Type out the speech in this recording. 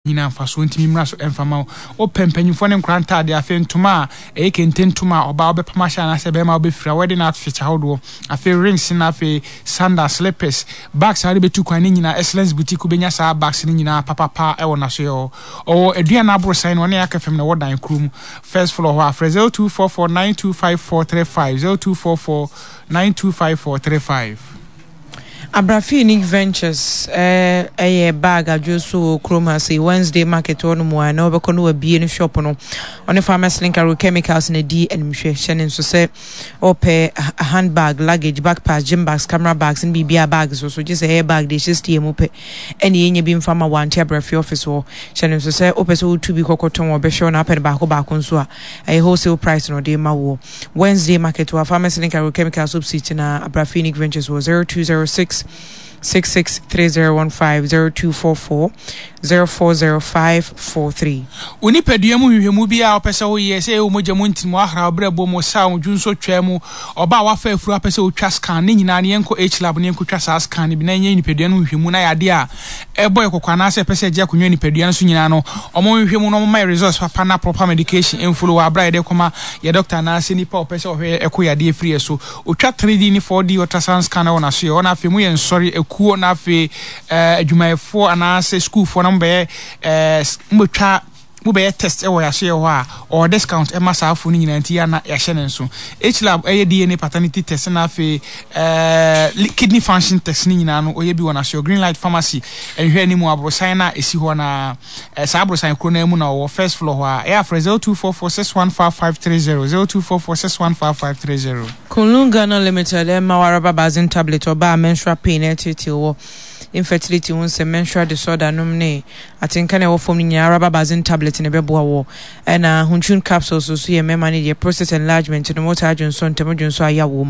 Nyinaa mfasoɔ ntumi mmra so mfa mma wo. Wopɛ mpanyimfoɔ ne nkwadaa ntaadeɛ, afei ntoma a ɛyɛ kente ntoma a ɔbaa wobɛpam ahyɛ anaasɛ barima wobɛfira, wedding outfit ahodoɔ, afei rings na afei sandals, slippers, bags a wode bɛtu kwan ne nyinaa Excellence Boutique wobɛnya saa bags no nyinaa papapa wɔ n'asoeɛ hɔ. Ɔwɔ Aduana Aborosan no ɔne Aka fam na ɛwɔ dan koro mu, first floor hɔ a frɛ 0244 925435, 0244 925435. Abrafi Unique Ventures yɛ bag adwo so wɔ kurom ha sei Wednesday market hɔ nom a na wɔbɛkɔ no wabie no shop no ɔne Farmers Link Agrochemicals na di animhwɛ hyɛ ne nso sɛ ɔpɛ handbag luggage backpacks gym bags camera bags ne biribiara bags so so gye sɛ ɛyɛ bag de ɛhyɛ steer mu pɛ ɛne yɛnya bi mfa ma wante Abrafi office hɔ hyɛ ne nso sɛ wopɛ sɛ wotu bi kɔkɔtɔn wɔbɛhwɛ wo na apɛ no baako baako nso a ɛyɛ wholesale price na ɔde ma woɔ Wednesday market wɔ Pharmacy ne Agrochemical Soap na Abra Phoenix Ventures wɔ 0206 663015 0244 040543. Wo nipadua mu nhwehwɛmu biara a wopɛ sɛ woyɛ, sɛ ɛyɛ wo mogya mu ntini mu, ahraw, berɛbo mu, saw, dwonsɔ twaa mu, ɔbaa a wafa afuru a wopɛ sɛ wotwa scan, ne nyinaa no yɛnkɔ H-lab na yɛnkɔtwa saa scan no bi na yɛnyɛ nipadua no nhwehwɛmu na yadeɛ a ɛbɔ yɛ kɔkɔ anaasɛ ɛpɛ sɛ ɛgye akonnwa nipadua no so nyinaa no wɔnhwehwɛ mu na wɔmma yɛ results papa na proper medication mfolo wɔ aberɛ a yɛde kɔma yɛ doctor anaasɛ nipa a ɔpɛ sɛ ɔhwɛ yɛ ɛko yadeɛ firi yɛ so. Ɔtwa 3D ne 4D ultrasound scan wɔ n'aso yɛ hɔ na afei moyɛ nsɔre akuo na afei eh, adwumayɛfoɔ anaasɛ sukuufoɔ na mobɛyɛ eh, mobɛtwa mobɛyɛ test wɔ yɛasoyɛ hɔ a, ɔwɔ discount ɛma saa afo no nyinaa nti yɛ na yɛahyɛ ne nso. H-lab ɛyɛ DNA paternity test na afei ɛɛ kidney function test ne nyinaa no ɔyɛ bi wɔ n'asoyɛ. Green Light Pharmacy nhwɛ anim aborosan no a ɛsi hɔ na saa aborosan koro no mu na ɔwɔ first floor hɔ a ɛyɛ afrɛ 0244615530 0244615530. Kunlun Ghana Limited ɛma wo Araba Basin Tablet ɔbaa menstrual pain ɛreteetee wɔ infertility ho nsɛm, menstrual disorder nom ne atenka na ɛwɔ fam no nyinaa Araba Basin Tablet na ɛbɛboa wɔ. Ɛna Huntun Capsules nso yɛ mmarima no deɛ, prostate enlargement nom, wotaa dwonsɔ ntɛm, dwonsɔ a yaw wɔ mu.